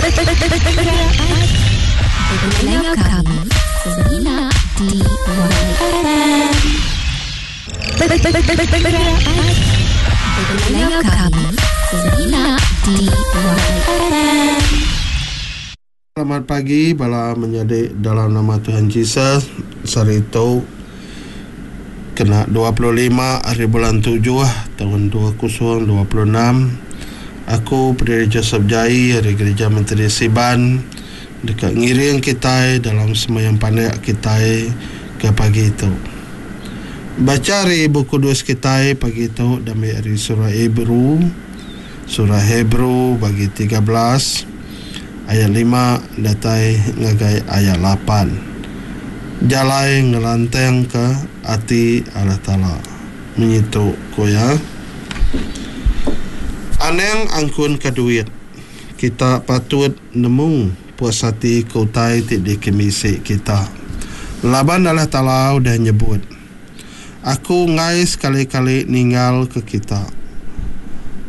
Pendengar kami semina di YFM. Pendengar kami semina di YFM. Selamat pagi bala menyadi dalam nama Tuhan Jesus. Sehari tu kena 25 hari bulan 7 tahun 2026. Aku Pendiri Joseph Jai ari Gerija Menteri Siban deka ngiring kitai dalam sembahyang pandak kitai ke pagi tu. Bacha ari Bup Kudus kitai pagi tu diambi ari Surah Hebrew. Surah Hebrew bagi 13 ayat lima datai ngagai ayat lapan. Jalai ngelantangka ati Allah Taala. Munyi tu ku iya, Anang angkunka duit. Kita patut nemu puas ati ke utai ti dikemisi kita. Laban Allah Taala udah nyebut. Aku enggai sekali-kali ninggalka kita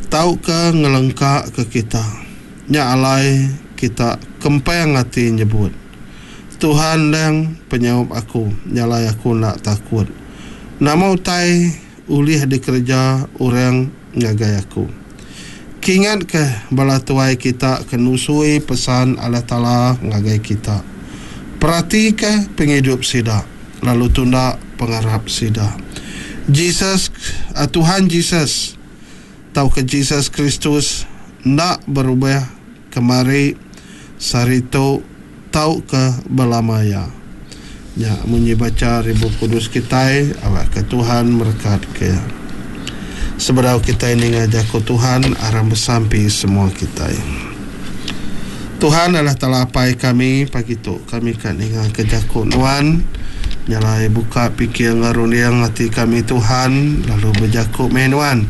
tauka ngelengkaka kita. Nya alai kita kempang ati nyebut, Tuhan endang penyaup aku, nya alai aku enda takut. Nama utai ulih dikereja orang ngagai aku? Kingatka bala tuai kita ke nusui pesan Allah Taala ngagai kita. Peratika pengidup sida, lalu tunda pengarap sida. Jesus, Tuhan Jesus, tauka Jesus Kristus enda berubah kemari, sehari tu, tauka belama iya. Nya munyi bacha ari Bup Kudus kitai, awakka Tuhan merekatka iya. Sebedau kitai ninga jaku Tuhan, aram besampi semua kitai. Tuhan Allah Taala Apai kami, pagi tu kami ka ningaka jaku Nuan. Nya alai buka pikir enggau runding ati kami Tuhan, lalu bejaku meh Nuan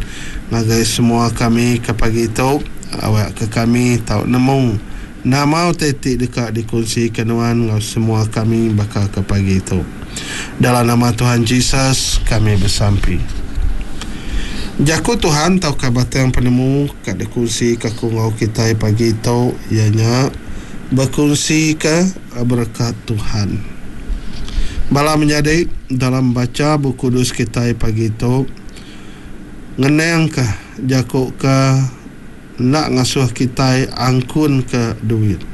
ngagai semua kami ke pagi tu, awakka kami tau nemu Nama utai ti deka dikunsika nuan enggau semua kami baka ke pagi tu? Dalam nama Tuhan Jesus, kami besampi. Jaku Tuhan tauka batang penemu ka dikunsika aku enggau kitai pagi tu iya nya bekunsika berekat Tuhan. Bala menyadi dalam bacha Bup Kudus kitai pagi tu ngenangka jaku ke enda ngasuh kitai angkunka duit.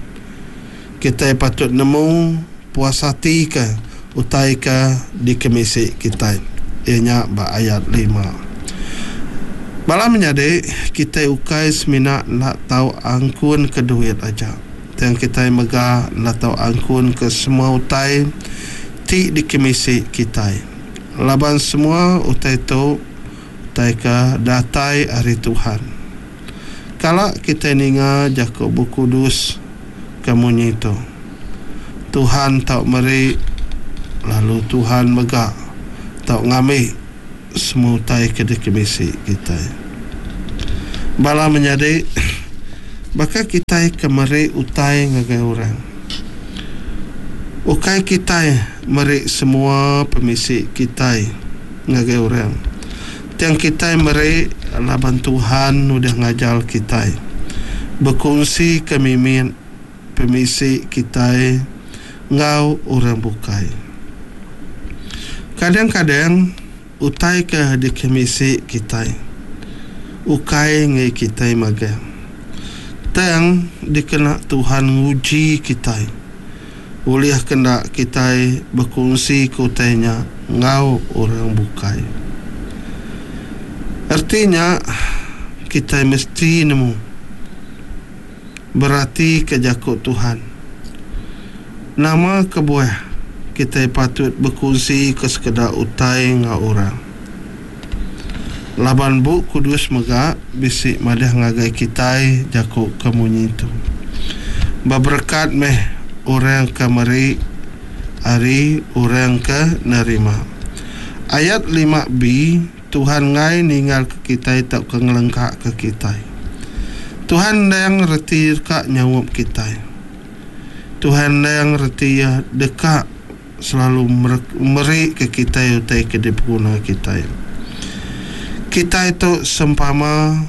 Kitai patut nemu puas ati ke utai ke dikemisi kitai, iya nya ba ayat lima. Bala menyadi, kitai ukai semina enda tau angkunka duit aja, tang kitai mega enda tau angkunka semua utai ti dikemisi kitai, laban semua utai tu Utai ke datai ari Tuhan. Kala kitai ninga jaku Bup Kudus ke munyi tu, Tuhan tau meri lalu Tuhan mega tau ngambi semua utai ke dikemisi kitai. Bala menyadi, baka kitai ke meri utai ngagai orang, ukai kitai meri semua pemisi kitai. Ngagai orang. Tang kitai meri laban Tuhan udah ngajar kitai bekunsika mimit pemisi kitai enggau orang bukai. Kadang-kadang utai ke dikemisi kitai ukai enggai kitai magang. Tang dikena Tuhan nguji kitai. Ulih ke enda kitai bekunsika utai nya enggau orang bukai? Reti nya, kitai mesti nemu beratika Jaku Tuhan. Nama kebuah kitai patut bekunsika sekeda utai enggau orang? Laban Bup Kudus mega bisi madah ngagai kitai jaku ke munyi tu, Beberekat meh orang ke meri ari orang ke nerima. Ayat 5b, Tuhan enggai ninggalka kitai tauka ngelengkaka kitai. Tuhan endang reti deka nyaup kitai. Tuhan endang reti iya deka. Selalu meri ke kitai utai ke dipeguna kitai. Kitai tu sempama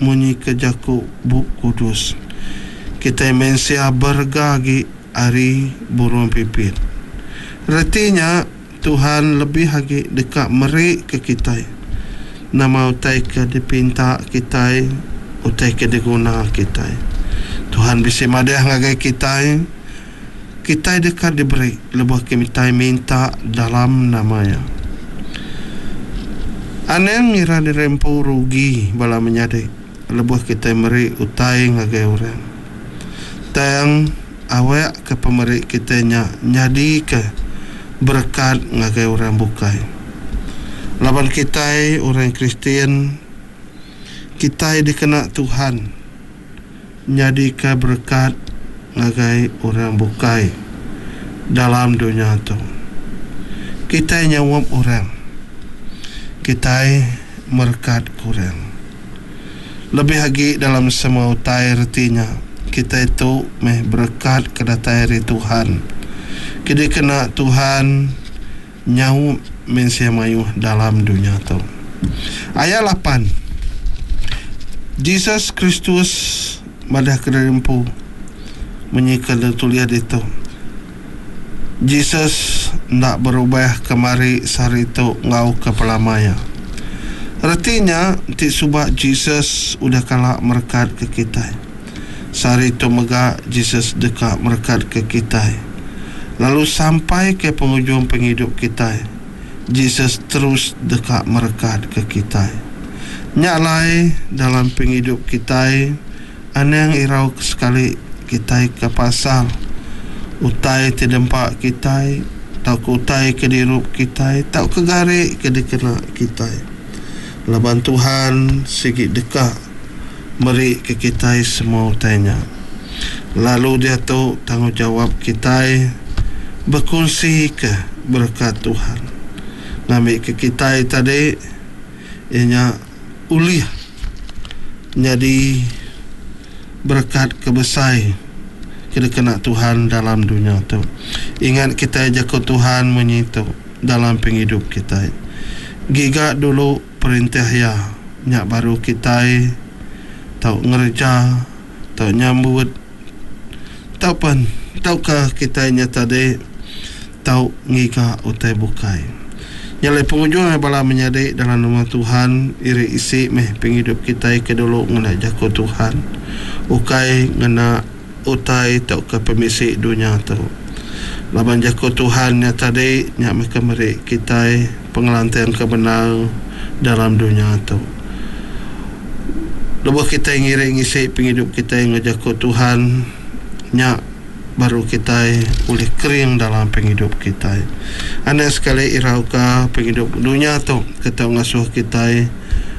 munyi ke jaku Bup Kudus. Kitai mensia berega agi ari burung pipit. Reti nya, Tuhan lebih agi deka meri ke kitai nama utai ke dipinta kitai, utai ke diguna kitai. Tuhan bisi madah ngagai kitai, kitai deka diberi lebuh kitai minta dalam nama Iya. Anang ngira diri empu rugi bala menyadi lebuh kitai meri utai ngagai orang. Tang awak ke pemeri kitai nya nyadika berekat ngagai orang bukai. Laban kitai orang Kristian, kitai dikena Tuhan nyadika berekat ngagai orang bukai dalam dunya tu. Kitai nyaup orang, kitai merekatka orang. Lebih agi dalam semua utai reti nya, kitai tu meh berekat ke datai ari Tuhan, ke dikena Tuhan nyaup mensia mayuh dalam dunya tu. Ayat lapan, Jesus Kristus madah kediri empu munyi ke ditulis ditu, Jesus enda berubah kemari sehari tu enggau ke pelama iya. Reti nya, enti suba Jesus udah kala merekatka kitai, sehari tu mega Jesus deka merekatka kitai. Lalu sampai ke pengujung pengidup kitai, Jesus terus deka merekatka kitai. Nya alai, dalam pengidup kitai, Anang irau sekali kitai ke pasal utai ti dempa kitai tauka utai ke dirup kitai tauka gari ke dikena kitai laban Tuhan sigi deka meri ke kitai semua utai nya. Lalu diatu tanggungjawab kitai bekunsika berekat Tuhan ngambika kitai tadi iya nya ulih nyadi berekat ke besai ke dikena Tuhan dalam dunya tu. Ingat kitai jaku Tuhan munyi tu dalam pengidup kitai. Giga dulu perintah Iya, nya baru kitai tau ngereja, tau nyambut, tau pen tauka kitai nya tadi tau ngiga utai bukai. Nya alai pengujung ai bala menyadi dalam nama Tuhan iri isi meh pengidup kitai ke dulu ngena jaku Tuhan ukai ngena utai tauka pemisi dunya tu. Laban jaku Tuhan nya tadi nya meh ke meri kitai pengelantang ke bendar dalam dunya tu. Lebuh kitai ngiri ngisi pengidup kitai enggau jaku Tuhan nya. Baru kitai ulih kering dalam pengidup kitai. Anang sekali irauka pengidup dunya tu ke tau ngasuh kitai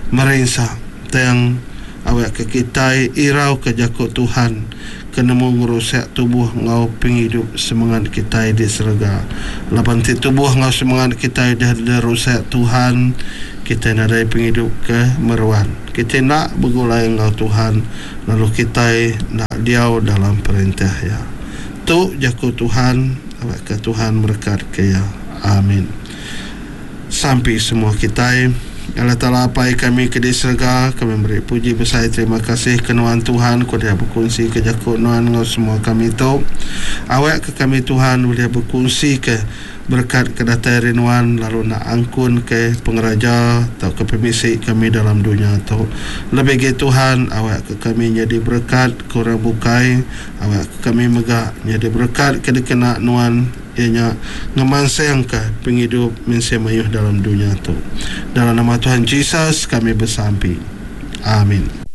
merinsa. Tang, awakka kitai irauka Jaku Tuhan ke nemu ngerusak tubuh enggau pengidup semengat kitai di serega. Laban ti tubuh enggau semengat kitai udah dirusak Tuhan, kitai nadai pengidup ke meruan. Kitai enda begulai enggau Tuhan. Lalu kitai enda diau dalam perintah Iya. Tu jaku Tuhan, awakka Tuhan merekatka iya. Amin. Sampi semua kitai. Allah Taala Apai kami ke di serega, kami meri puji besai terima kasih ke Nuan Tuhan ke udah bekunsika jaku Nuan enggau semua kami tu. Awakka kami Tuhan ulih bekunsika Berekat ke datai ari Nuan lalu enda angkun ke pengeraja tauka pemisi kami dalam dunya tu. Lebih agi Tuhan, awakka kami nyadi berekat ke orang bukai, awakka kami mega nyadi berekat ke dikena Nuan iya nya ngemansangka pengidup mensia mayuh dalam dunya tu. Dalam nama Tuhan Jesus kami besampi. Amin.